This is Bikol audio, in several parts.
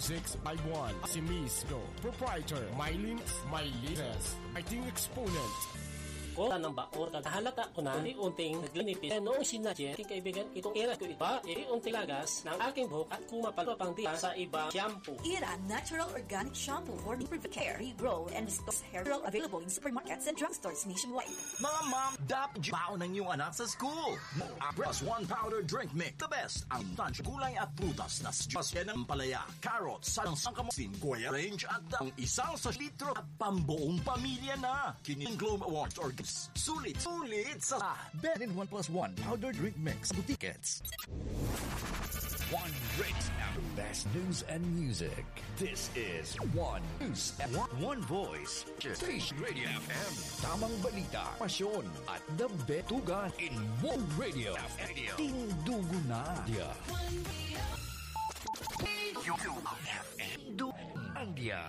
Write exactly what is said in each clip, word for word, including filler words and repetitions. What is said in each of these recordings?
six five one. Si Miss Do, proprietor, Mylene Mylises, writing exponent. Kota ng baor, naghahalata ko na unti-unting naglinipis. Kaya noong sinadya, aking kaibigan, itong iras ko iba, unti-unti lagas ng aking buhok at kumapal pa pang dila sa iba shampoo. Ira Natural Organic Shampoo for Improved Care, Regrow, and Restores Hair Oil, available in supermarkets and drugstores nationwide. Mga mom, dapat baon ng iyong anak sa school. Mo Plus One Powder Drink Mix. The best. Ang tansya gulay at prutas na juice yan ng palaya, carrots, sa ang sangkamo, singgoya range at ang isang sa litro at pambuong pamilya na. Kining Globe Awards or gifts. Sulit, sulit sa Ben in One Plus One Powder Drink Mix. Tickets. One rate and the best news and music. This is One News and One, One Voice. Station Radio F M. Tamang balita, pasyon, at the best tugan in One Radio F M. Tindugo na. Yeah. F M. Ang dia.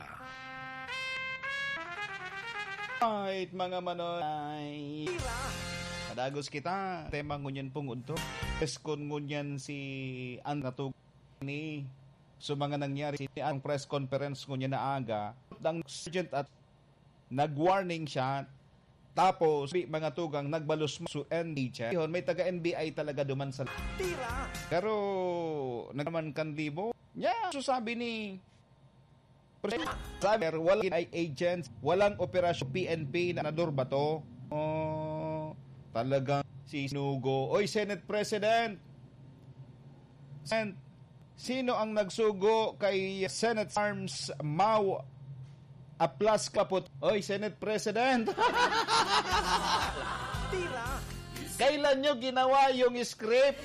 Right, mga manoy. Padagos kita. Tema ngunyan pong unto. Preskon ngunyan si An natug ni so mga nangyari si ang press conference ngunyan na aga. Ang sergeant at nag-warning siya. Tapos, di mga tugang nagbalos mo su N B I. Yun, may taga N B I talaga duman sa Tira! Pero, nagkaman kan libo. Yeah, so sabi ni Sabi, walang I agents, walang operasyon P N P na nador ba to? Oh, talagang si Sinugo. Oy, Senate President! Sen, sino ang nagsugo kay Senate Arms Mau Aplas Kaput? Oy, Senate President! Tira! Kailan nyo ginawa yung script?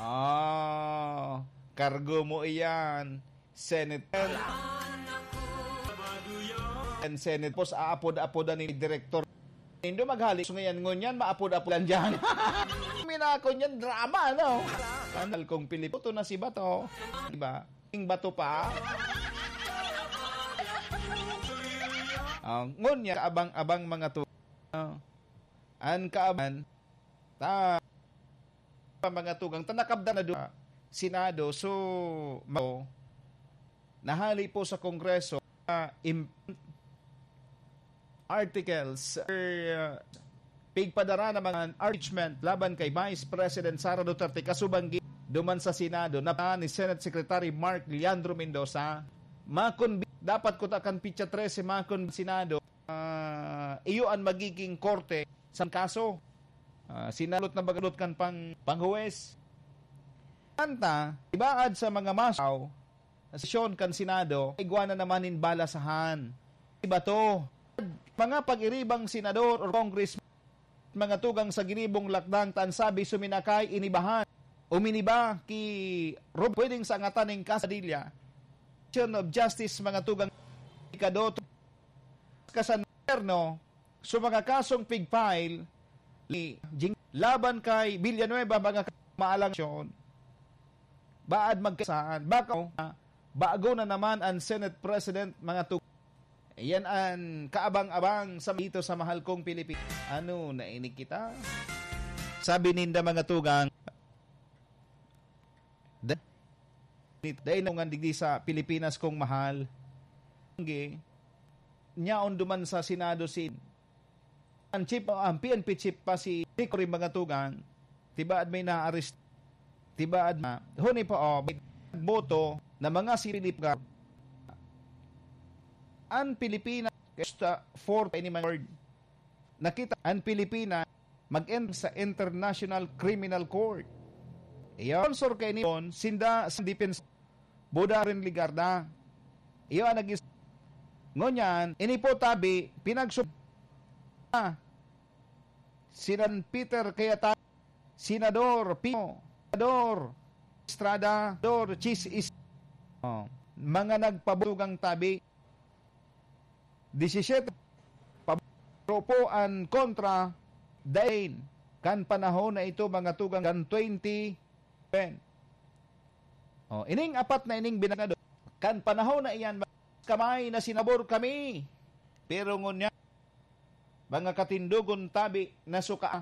Ah, kargo mo iyan, Senate. And Senate, pos aapod-apodan ni Direktor. Indo maghalik, so ngayon, ngunyan, maapod-apodan dyan. Minako niyan, drama, no? Kanal kong Pilipino, to na si Bato. Diba? Ing Bato pa. Ah, ngunyan, kaabang-abang mga tu-, ah, an kaaban, ta, pa mga tugang, ta nakabda na do-, Senado, so, mao, nahali po sa Kongreso, ah, im-, articles, er, ah, pigpadara na mga impeachment laban kay Vice President Sara Duterte kasubang gi-, duman sa Senado na pa ni Senate Secretary Mark Leandro Mendoza. Makonbi-, dapat kuta kan pitsa trese, makon Senado, ah, iyo an magiging korte sa kaso. Ah, sinalot na bagalot kan pang-, panghuwes. Kanta, ibaad sa mga masaw, sa sesyon kan Senado, igwa na naman nin balasahan. Iba to. Mga pag-iribang senador or congressman, mga tugang sa ginibong lakdang ta an sabi suminakay inibahan. Uminiba ki Rob pwedeng sa angatan ning kasadilya. Of Justice, mga tugang, ikadoto, kasan gobyerno, so mga kasong pig-file ni Jing laban kay Villanueva, mga ka-, maalang syon. Baad magkasaan. Baka, bago na naman ang Senate President, mga tu-, yan ang kaabang-abang sa dito sa mahal kong Pilipinas. Ano, nainig kita? Sabi ninda, mga tugang, da-, dai na ngan digdi sa Pilipinas kong mahal. Nyaon duman sa Senado si ang chief, ang P N P chief pa si Rico rin mga tugang, tibaad may na-arrest, tibaad na, huni pa, oh, may boto na mga si Philip Gar-, ang Pilipinas, kesta for any word. Nakita ang Pilipinas mag-end sa International Criminal Court. Iyo, sponsor kay ni sinda sa defense Buda rin Ligarda. Iyo ang nagis-, ngunyan, ini po tabi, pinagsub-, ah, Sinan Peter Cayetano, Senador Pino, Senador Estrada, Senador Chis Is-, oh, mga nagpabugang tabi, disisiyete, pabro po an kontra, dain, kan panahon na ito, mga tugang, kan twenty ten. Oh, ining apat na ining binagado, kan panahon na iyan, kamay na sinabor kami. Pero ngunyan, mga katindogon tabi na suka,